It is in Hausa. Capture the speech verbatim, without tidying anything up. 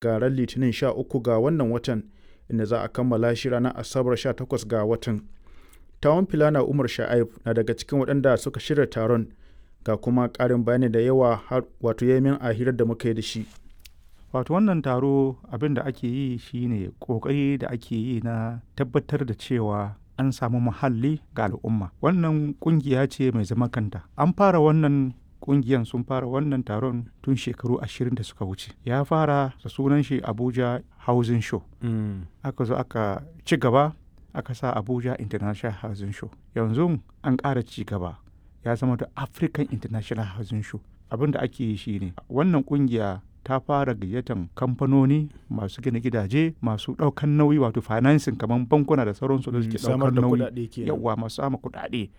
Ga ran Litinin sha uku ga wannan watan, inda za a kammala shi ranar Asabar sha takwas ga watan. Tawon Filana Umar Sha'aib na daga cikin waɗanda suka shirya taron, ga kuma ƙarin bayani da yawa wato ya min a hirar da muka yi da shi. Wato wannan taro abin da ake yi shine ƙoƙari da ake yi na tabbatar da cewa an samu muhalli ga al'umma. Wannan ƙungiya ce mai zaman kanta. An fara wannan ƙungiyan sun fara wannan taron tun shekaru ashirin da suka wuce. Ya fara da sunan shi Abuja Housing Show. Aka zo aka ci gaba aka sa Abuja International Housing Show. Yanzu an ƙara ci gaba ya zama da African International Housing Show. Abin da ake yi shine wannan ƙungiya ta fara gayyatan kamfanoni masu gina gidaje masu ɗaukan nauyi wato financing kamar bankuna da sauransu da suke Samar ɗaukan da nauyi kuɗaɗe kenan. yawwa masu sama kuɗaɗe.